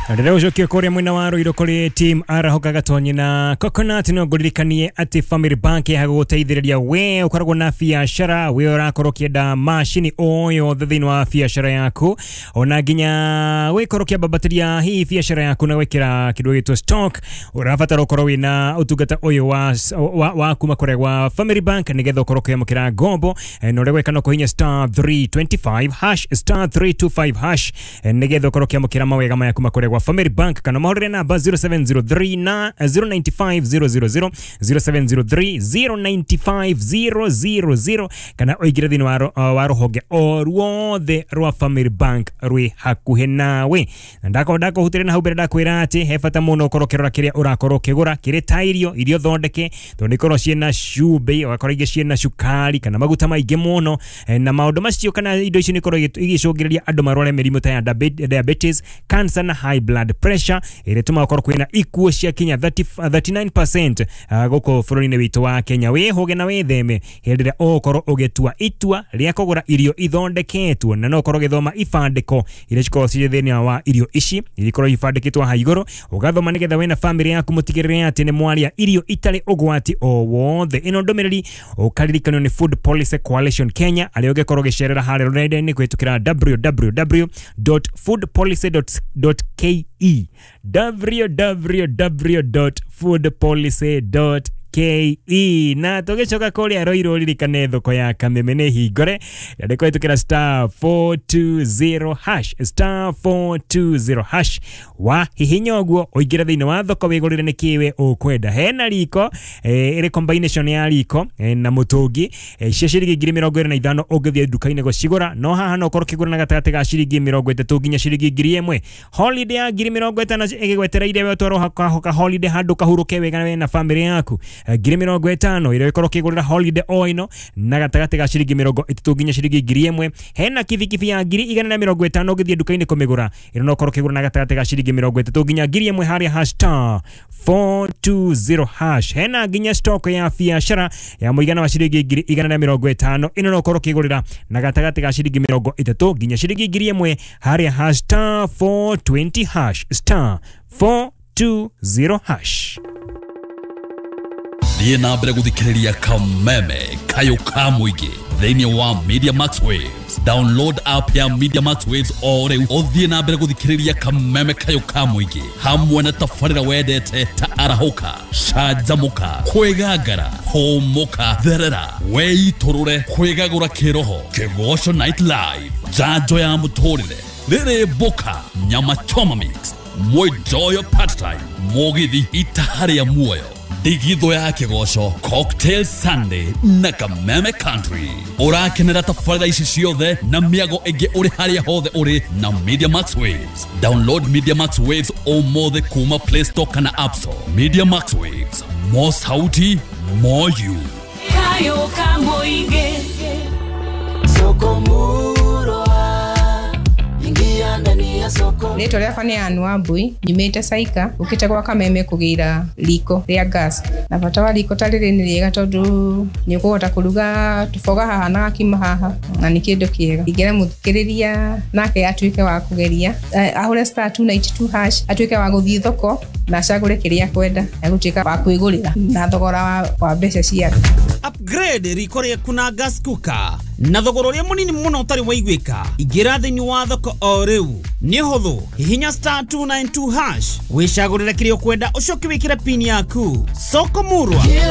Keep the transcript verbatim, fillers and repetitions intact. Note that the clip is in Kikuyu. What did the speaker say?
Ndĩrĩa ũcokie kũrĩa mwena wa Ruiru kũrĩ team Arahoka Gatonyi na Coconut, no ngũririkanie atĩ Family Bank yagũgũteithĩrĩria we ũkoragwo na biacara, we ũrakorwo ũkĩenda macini o yothe thĩinĩ wa biacara yaku, ona nginya wĩkorwo ũkĩambambatĩria hihi biacara yaku na gwĩkĩra kĩndũ gĩtwo stock, ũrabatara ũkorwo wĩna ũtungata ũyũ wa, wa, wa kuma kũrĩa gwa Family Bank nĩgetha ũkorwo ũkĩamũkĩra ngombo. eh, na ũrĩa gwĩka no kũhihinya star three twenty-five hash, star three twenty-five hash, eh, nĩgetha ũkorwo ũkĩamũkĩra mawega maya kuma kũrĩa gwa Family Bank, kana mahũrĩre namba zero seven zero three na zero nine five zero zero zero, zero seven zero three zero nine five zero zero zero, kana ũingĩre thĩinĩ wa, wa rũhonge o ruothe rwa Family Bank rwĩ hakuhĩ nawe. Na ndakorwo ndakũhutĩria na hau mbere ndakwĩra atĩ he bata mũno ũkorwo ũkĩrora kĩrĩa ũrakorwo ũkĩgũra kĩrĩ ta irio irio thondeke, tondũ nĩ ikorwo ciĩna cumbĩ, ũgakora ingĩ ciĩna cukari kana maguta maingĩ mũno, na maũndũ macio kana indo icio nĩ ikorwo igĩcũngĩrĩria andũ marware mĩrimũ ta ya diabetes, cancer na high blood pressure, ĩrĩa ĩtũmaga gũkorwo kwĩna ikuũ cia kinya thirty-nine percent gũkũ bũrũri-inĩ witũ wa Kenya. Wĩhũge na wĩtheme hĩndĩ ĩrĩa ũgũkorwo ũgĩtua itua rĩa kũgũra irio ithondeketwo, na no ũkorwo ũgĩthoma ibandĩko iria cikoragwo cirĩ thĩinĩ wa irio ici, iria ikoragwo ibandĩkĩtwo haha igũrũ, ũgathoma nĩgetha we na famĩlĩ yaku mũtigĩrĩre atĩ nĩ mwaria irio itarĩ ũgwati o wothe. Ĩno ndũmĩrĩri ũkaririkanio nĩ Food Policy Coalition Kenya, arĩa ũngĩkorwo ũgĩcerera harĩa rũrenda-inĩ kũhĩtũkĩra w w w dot food policy dot k e, w w w dot food policy dot k e. Na tũgĩcoka kũrĩa Ruiru ririkane thoko ya Kameme nĩ hingũre, na nĩ kũhĩtũkĩra star four two zero hash, star four two zero hash. Wa hihinya ũguo ũingĩre thĩinĩ wa thoko wĩgũrĩre nĩ kĩwe ũkwenda. Hena riko, eh, ĩrĩ combination ya riko eh, na mũtũngi, eh, cia ciringi ngiri mĩrongo ĩrĩ na ithano ũngĩthiĩ nduka-inĩ gũcigũra, no haha no ũkorwo ũkĩgũra na gatagatĩ ga ciringi mĩrongo ĩtatũ nginya ciringi ngiri ĩmwe. Holiday ya ngiri mĩrongo ĩtano ĩgĩgwetereire we ũtwarwo ka holiday handũ kahurũke wega we na famĩlĩ yaku, ngiri mĩrongo ĩtano ĩrĩa ĩkorwo ũkĩgũrĩra holiday o ĩno na gatagatĩ ga ciringi mĩrongo ĩtatũ nginya ciringi ngiri ĩmwe. Hena kibikibi ya ngiri igana na mĩrongo ĩtano ũngĩthiĩ nduka-inĩ kũmĩgũra, ĩno no ũkorwo ũkĩgũra na gatagatĩ ga ciringi mĩrongo ĩtatũ nginya ngiri ĩmwe harĩa hash star four two zero hash. Hena nginya stock ya biacara ya mũigana wa ciringi ngiri igana na mĩrongo ĩtano, ĩno no ũkorwo ũkĩgũrĩra na gatagatĩ ga ciringi mĩrongo ĩtatũ nginya ciringi ngiri ĩmwe harĩa hash star four twenty hash, star four two zero hash. Thiĩ na mbere gũthikĩrĩria Kameme Kayũ ka Mũingĩ thĩinĩ wa Media Max Waves. Download app ya Media Max Waves o rĩu ũthiĩ na mbere gũthikĩrĩria Kameme Kayũ ka Mũingĩ hamwe na tabarĩra wendete ta Arahũka, Canjamũka, Kwĩgangara, Hũmũka, Therera, Wĩitũrũre, Kwĩgagũra Kĩroho, Kĩgoco Night Live, Njanjo ya Mũtũrĩre, Rĩrĩ Mboka, Nyama Choma Mix, Mwĩnjoyo Part Time, Mũgithi Itaha rĩa Muoyo, Ndigithũ ya Kĩgoco, Cocktail Sunday na Kameme Country. Ũrakenera tabarĩra ici ciothe na mĩago ĩngĩ ũrĩ harĩa hothe ũrĩ na Media Max Waves. Download Media Max Waves ũmũthĩ kuma Play Store kana App Store. Media Max Waves, more sauti, more you. Kayũ ka Mũingĩ. Soko murwa, ingia ndani ya soko. Rĩtwa rĩakwa nĩ Ann Wambui, nyumĩte Saika, ũkĩte gwa Kameme kũgĩra riko rĩa gas. Na bata wa riko ta rĩrĩ nĩ rĩega tondũ nĩ ũkũhota kũruga tũboga haha na gakima haha, na nĩ kĩndũ kĩega. Ingĩra mũthikĩrĩria nake atuĩke wa kũgeria, ahũre star two ninety two hash, atuĩke wa gũthiĩ thoko na acagũre kĩrĩa akwenda, egũtuĩka wa kwĩgũrĩra na thogora wa, wa mbeca ciake. Upgrade riko rĩaku na gas cooker na thogora ũrĩa mũnini mũno ũtarĩ waiguĩka. Ingĩra thĩinĩ wa thoko o rĩu, nĩ ũhũthũ, hihinya star two nine two hash wĩcagũrĩre kĩrĩa ũkwenda, ũcoke wĩkĩre pin yaku. Soko murwa. Kila